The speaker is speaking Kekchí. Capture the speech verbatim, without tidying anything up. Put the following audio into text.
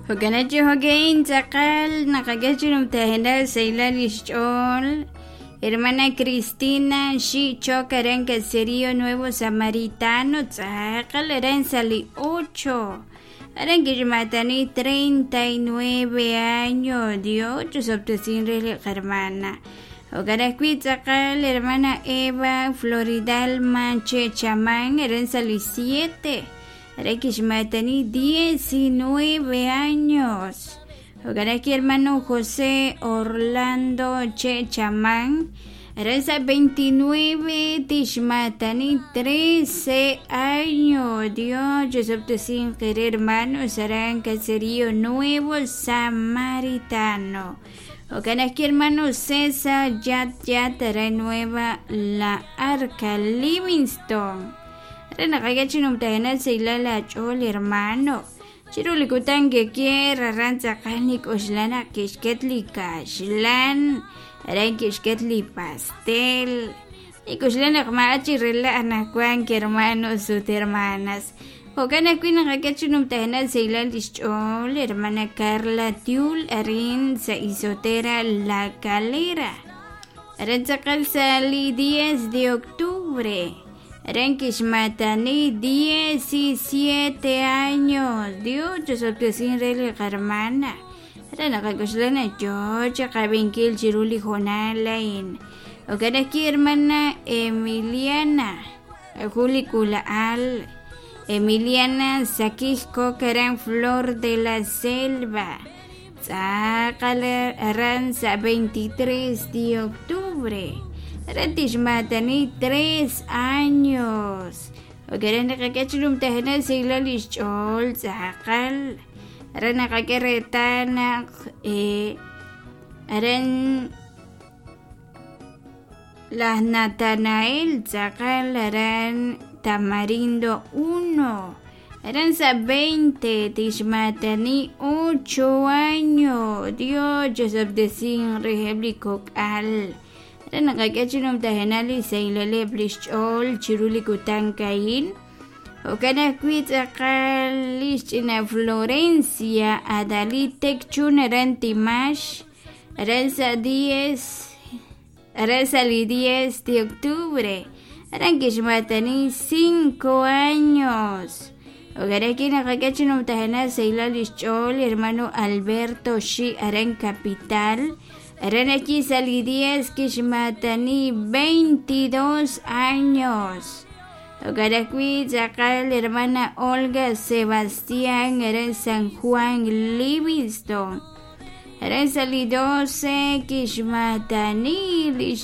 Jo'kan chi jo'ka'in tz'aqal naqak'e chi numtajenaq sahilal lix ch'ool hermana Cristina Xi' Choc aran Caserío Nuevo Samaritano, tz'aqal aran sa li ocho aran kixmatani treinta y nueve años. Dios chusob'tesin re li qarmana. Jo'kan ajwi' tz'aqal hermana Eva Floridalma Che Chaman aran sa li siete aran kixmatani diecinueve años. Jo'kan ajwi' hermano José Orlando Che Chaman aran sa veintinueve tixmatani trece años. Dios chusob'tesin qere hermanos aran Caserío Nuevo Samaritano. Jo'kan ajwi' hermano César Yat Yat aran Nueva La Arca, Livingston, aran naqak'e chi numtajenaq sahilal ach'ool hermano chiru li kutan keker aran tz'aqal nik'oxla naq kixket li kaxlan aran kixket li pastel nik'oxla naq ma'a chi rila' anaqwan hermanos ut hermanas. Jo'kan ajwi' naqak'e chi numtajenaq sahilal lix ch'ool hermana Carla Tiul arin sa Isotera La Calera aran tz'aqal sa li diez de octubre aran kixmatani diecisiete años. Dios chusob'tesin re li qarmana aran naqak'oxla naq yoo chiqab'inkil chiru li hoonal a'in. Jo'kan ajwi' hermana Emiliana jun li k'uula'al Emiliana Sakij Kok aran Flor de la Selva tz'aqal aran sa veintitrés de octubre aran tixmatani tres años. Jo'kan naqak'e chi numtajenaq sahilal lix ch'ool tz'aqal aran naqak'e reetal naq eh, aran laj Natanael tz'aqal aran Tamarindo uno aran sa veinte tixmatani ocho años. Dios chusob'tesin reheb' li kok'al aran naqak'e chi numtajenaq li sahilaleb' lix ch'ool chiru li kutan ka'in. Jo'kan ajwi' tz'aqal lix ch'ina Florencia Adalí Tekchun aran Timax aran sa diez aran sa li diez de octubre aran kixmatani cinco años. Jo'kan ajwi' naqak'e chi numtajenaq sahilal lix ch'ool hermano Alberto Xi aran Capital aran ajwi' sa li diez kixmatani veintidós años. Jo'kan ajwi' tz'aqal hermana Olga Sebastián aran San Juan Livingston aran sa li doce kixmatani lix